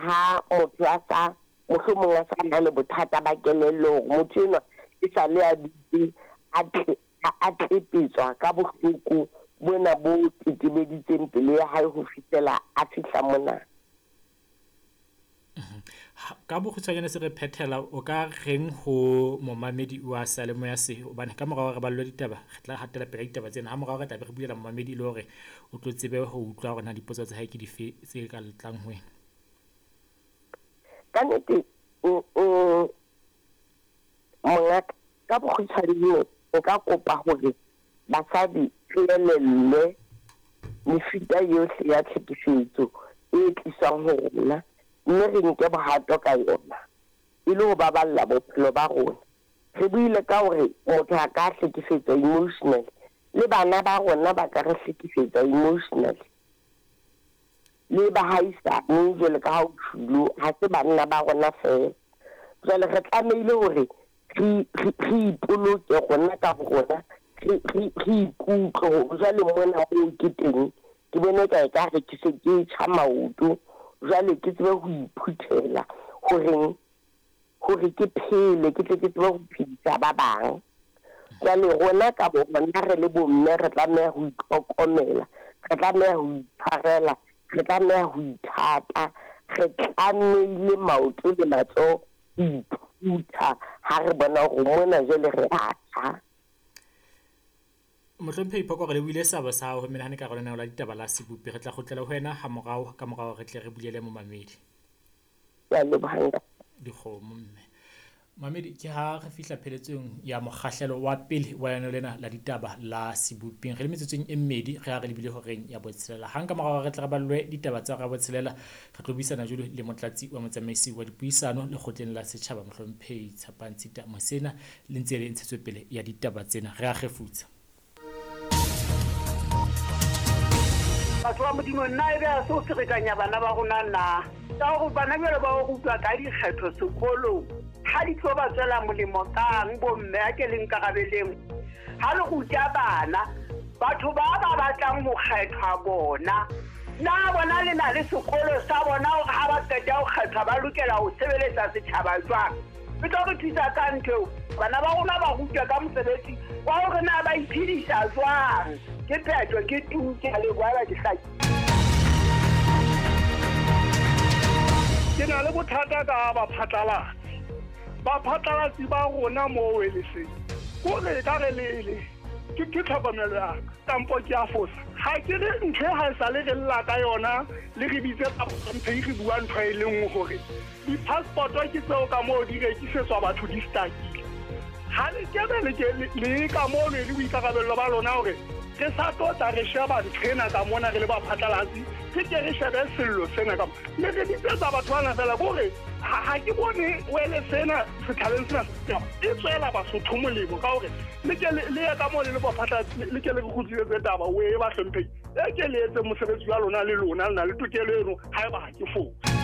ha motho a sa mohlomong a sa na le bothata ba kelello hore motho enwa e sa le a dutse a a tlepetswa ka bohloko bona bo tetebeditseng pelo ya hae ho fihlela a fihla mona. Ka bokgutshwanyane se re phethela, o ka reng ho momamedi wa seyalemoya se? Hobane ka mora hore re ballwe ditaba, re tla hatela pele ka ditaba tsena. Ha morao re tla be re bulela momamedi e le hore o tlo tsebe ho utlwa hore na dipotso tsa hae ke dife tse ka tlang ho wena. Ka nnete, mongaka, ka bokgutshwanyane nka kopa hore basadi re elellwe mefuta yohle ya tlhekefetso e tliswang ho rona mme re nke bohato ka yona e le ho baballa bophelo ba rona. Re buile ka hore motho a ka hlekefetswa emotionally, le bana ba rona ba ka re hlekefetsa emotionally, le bahaisane jwalo ka ha o tjhulo, ha se banna ba rona feela. Jwale re tlamehile hore re, re, re ipoloke rona ka borona, re, re, re ikutlwe hore jwale mona moo ke teng, ke bone eka ekare ke se ke tjha maoto, jwale ke tsebe ho iphuthela horeng, hore ke phele, ke tle ke tsebe ho phedisa ba bang. Jwale rona ka borona re le bomme re tlameha ho itlhokomela, re tlameha ho itshwarela, re tlameha ho ithata, re tlamehile maoto le matsoho ho iphutha ha re bona hore mona jwale re a tjha. Mohlomphehi Phoko, re lebohile seabo sa hao ho menahane ka lenaneo la ditaba la Sebopi. Re tla kgutlela ho wena hamorao ka mora hore re tle re bulele momamedi. Ke a leboha ntate. Dikgomo mme. Mamedi, ke ha re fihla pheletsong ya mokgahlelo wa pele wa lenaneo lena la ditaba la Seboping. Re le metsotsong e mmedi re ha re lebile horeng ya botshelela. Hang ka mora hore re tle re ballwe ditaba tsa hora ya botshelela, re tlo buisana jwale le motlatsi wa motsamaisi wa dipuisano lekgotleng la setjhaba, Mohlomphehi Tshepang Tshita Mosena, le ntse le ntshetsopele ya ditaba tsena. Re a kgefutsa. Batho ba Modimo, nna e be a se ho ferekanya bana ba rona na? Ka hore bana jwale ba rutwa ka dikgetho sekolong, ha di tlo ba tswela molemo kang bomme? A ke le nkarabeleng. Ha le ruta bana, batho ba ba batlang ho kgethwa bona, na bona le na le sekolo sa bona hore ha ba qeta ho kgethwa ba lokela ho sebeletsa setjhaba jwang? E tlo re thusa ka ntho eo. Bana ba rona ba rutwa ka mosebetsi wa hore na ba iphedisa jwang. Ke phetho, ke tu, ke a leboha eba ke hlakile. Ke na le bothata ka baphatlalatsi. Baphatlalatsi ba rona mo Weleseng, kore e ka re le le ke ke tlhokomelo ya ka kampo ke a fosa. Ha ke re ntho e ha e sa le re lla ka yona le re bitse bamphehi re bua ntho e le nngwe hore di-passport-o ke tseo ka moo di rekisetswa batho di stakile. Ha le kebe le ke le ka mono e le boikarabello ba lona hore re sa tlo tla re sheba ntho ena ka mona re le baphatlalatsi, re ke re shebe sello sena ka mona. Le re bitsetsa batho bana fela kore ha ke bone wele sena setjhabeng sena e tswela Basotho molemo ka hore le ke le ye ka moo le le baphatlalatsi le ke le re kgutlisetse taba o e bahlomphehi e ke le etseng mosebetsi wa lona le lona le na le tokelo eno haeba ha ke fosa.